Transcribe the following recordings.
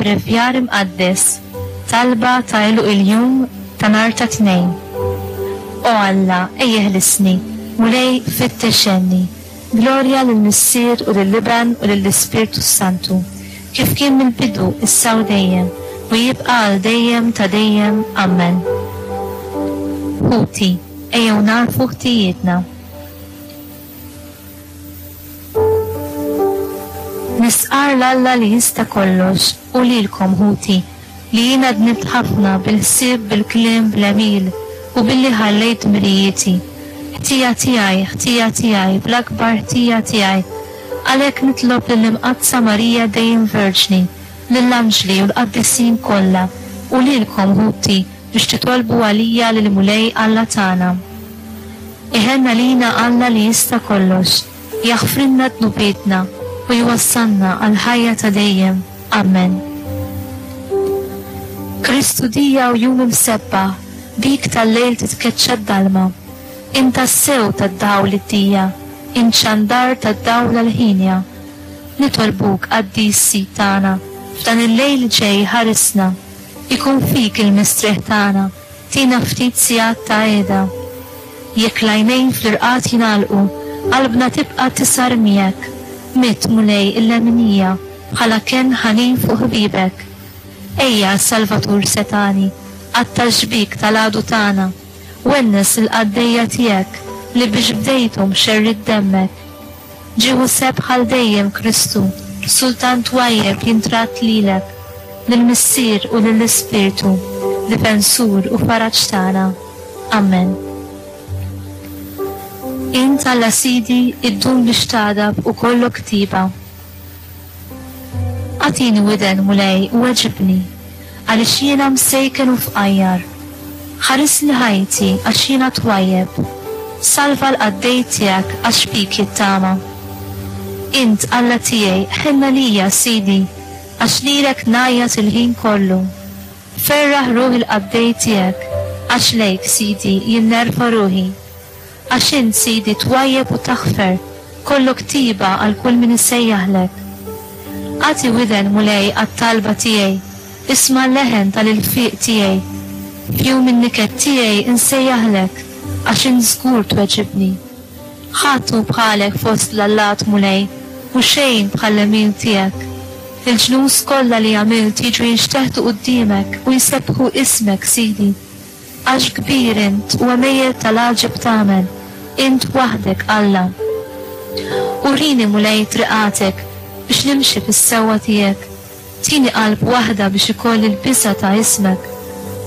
Brevjar Imqaddes, Talba ta' għeluq il-jum ta' nhar ta' Tnejn. O Alla, ejja eħlisni, Mulej fittex għenni. Glorja lill-Missier u lill-Iben u lill-Ispirtu s-Santu, kif kien mill-bidu, issa u dejjem, u jibqa' għal dejjem ta' dejjem. Ammen. Ħuti, ejjew nagħrfu ħtijietna. Nistqarr 'l Alla li jista' kollox u lilkom, ħuti, li jiena dnibt ħafna bil-ħsieb, bil-kliem, bl-għemil, u billi ħallejt dmirijieti. Ħtija tiegħi, ħtija tiegħi, bl-akbar ħtija tiegħi. Għalhekk nitlob lill-Imqaddsa Marija dejjem Verġni, lill-anġli u l-qaddisin kollha, u lilkom, ħuti, biex titolbu għalija lill-Mulej Alla tagħna. Iħenn għalina Alla li jista' kollox, jaħfrilna dnubietna u jwassalna għall-ħajja ta' dejjem. Ammen. Kristu dija u jum imsebbaħ, bik tal-lejl titkeċċa d-dalma. Int tassew tad-dawl id-dija, int xandar tad-dawl għall-ħinja. Nitolbuk, Qaddis Sid tagħna, f'dan il-lejl li ġej ħarisna. Ikun fik il-mistrieħ tagħna. Tina ftit sigħat ta' qiegħda. Jekk l-għajnejn fl-irqad jingħalqu, qalbna tibqa' tisgħar miegħek. Midd, Mulej, il-leminija, bħala kenn ħanin fuq ħbiebek. Ejja, Salvatur setgħani, qatta' x-xbiek tal-għadu tagħna. Wennes lill-qaddejja tiegħek li biex bdejthom xerridt demmek. Ġieħu sebħ għal dejjem Kristu, Sultan twajjeb jintradd lilek, lill-Missier u lill-Ispirtu, Difensur u Faraġ tagħna. Ammen. Int Alla Sidi iddum biex tagħdab u kollok tiba. Agħtini widen, Mulej, u weġibni, għaliex jiena msejken u fqajjar. Ħarisli ħajti, għax jiena twajjeb. Salva l-qaddej tiegħek, għax fik jittama. Int, Alla tiegħi, ħenn għalija, Sidi, għax lilek ngħajjat il-ħin kollu. Ferraħ ruħ il-qaddej tiegħek, għax lejk, Sidi, jien nerfa' ruħi. Għax int, Sidi, twajjeb u taħfer, kollok tiba għal kull min isejjaħlek. Agħti widen, Mulej, għat-talba tiegħi, isma' l-leħen tal-ilfiq tiegħi. F'jum in-niket tiegħi nsejjaħlek, għax int żgur tweġibni. Ħadd hu bħalek fost l-allat, Mulej, u xejn bħall-għemil tiegħek. Il-ġnus kollha li għamilt jiġu jinxteħtu quddiemek u jsebbħu ismek, Sidi. Għax kbir int u għemejjel tal-għaġeb tagħmel, int waħdek Alla. Urini, Mulej, triqatek, biex nimxi fis-sewwa tiegħek. Tini qalb waħda biex ikolli l-biża' ta' ismek.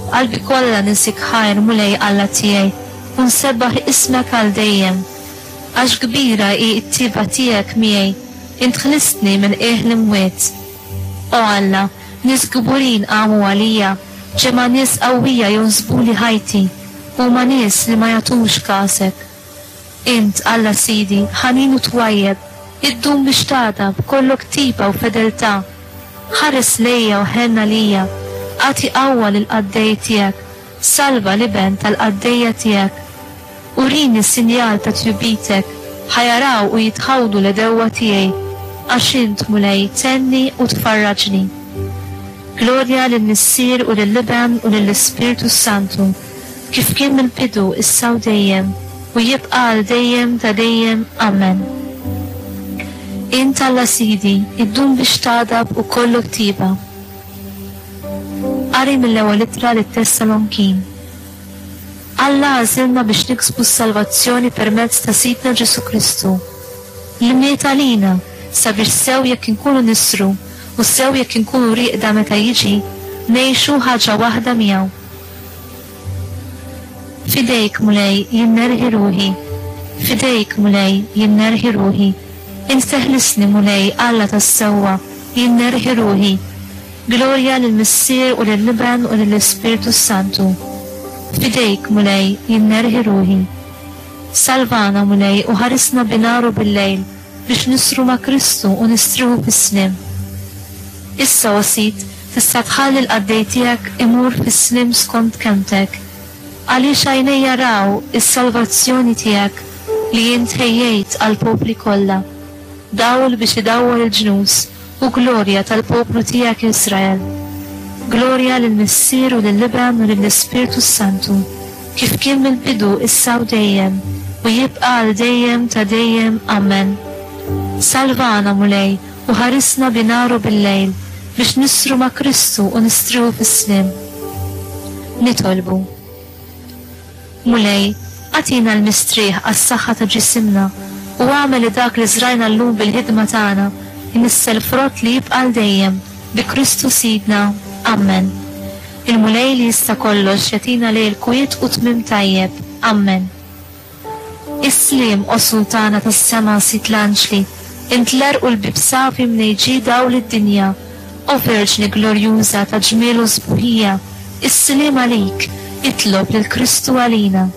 B'qalbi kollha niżik ħajr, Mulej Alla tiegħi, u nsebbaħ ismek għal dejjem. Għax kbira hi t-tieba tiegħek miegħi, int ħlistni minn qiegħ l-imwiet. O Alla, nies kburin qamu għalija, ġemgħa nies qawwija jonsbuli ħajti, huma nies li ma jagħtux kasek. Int, Alla Sidi, ħanin u twajjeb, iddum biex tagħdab, kollok tiba u fedeltà. Ħares lejja u ħenn għalija, agħti qawwa lill-qaddej tiegħek, Salva l-iben tal-qaddejja tiegħek. Urini sinjal ta' tjubitek, ħa jaraw u jitħawdu l-għedewwa tiegħi, għax int, Mulej, tgħinni u tfarraġni. Glorja lill-Missier u lill-Iben u lill-Ispirtu s-Santu, kif kien mill-bidu, issa u dejjem, u jibqa' għal dejjem ta' dejjem. Amen. Int Alla Sidi, iddum biex tagħdab u kollok tiba. Qari mill-Ewwel Ittra lit-Tessalonkin. Alla għażilna biex niksbu s-salvazzjoni permezz ta' Sidna Ġesù Kristu, li miet għalina sabiex sew jekk inkunu nisru u sew jekk inkunu rieqda meta jiġi, ngħixu ħaġa waħda miegħu. F'idejk, Mulej, jien nerħi ruħi. F'idejk, Mulej, jien nerħi ruħi. Int teħlisni, Mulej, Alla tas-sewwa, jien nerħi ruħi. Glorja lill-Missier u lill-Iben u lill-Ispirtu s-Santu. F'idejk, Mulej, jien nerħi ruħi. Salvana, Mulej, u ħarisna binhar u billejl, biex nisru ma' Kristu u nistrieħu fis-sliem. Issa, o Sid, tista' tħalli l-qaddej tiegħek imur fis-sliem skont kelmtek. Għaliex għajnejja raw is-salvazzjoni tiegħek li int ħejjejt għall-popli kollha, dawl biex idawwal il-ġnus. U glorja tal-poplu tiegħek Israel. Glorja lill-Missier u lill-Iben u lill-Ispirtu s-Santu, kif kien mill-bidu issa u dejjem, u jibqa' għal dejjem ta' dejjem. Amen. Salvana, Mulej, u ħarisna bi nhar u bil-lejl, biex nisru ma' Kristu u nistrieħu fis-sliem. Nitolbu. Mulej, agħtina l-mistrieħ għas-saħħa ta' ġisimna u agħmel li dak li żrajna llum bil-ħidma tagħna jnissel frott li jibqa' għal dejjem, bi Kristu Sidna. Ammen. Il-Mulej li jista' kollox jagħtina lejl kwiet u tmiem tajjeb. Ammen. Is-sliem, o Sultana tas-sema, Sid l-anġli, int l-għerq u l-bieb safi mnejn ġie dawl id-dinja. O Verġni glorjuża ta' ġmiel u sbuħija, is-sliem għalik, itlob lil Kristu għalina.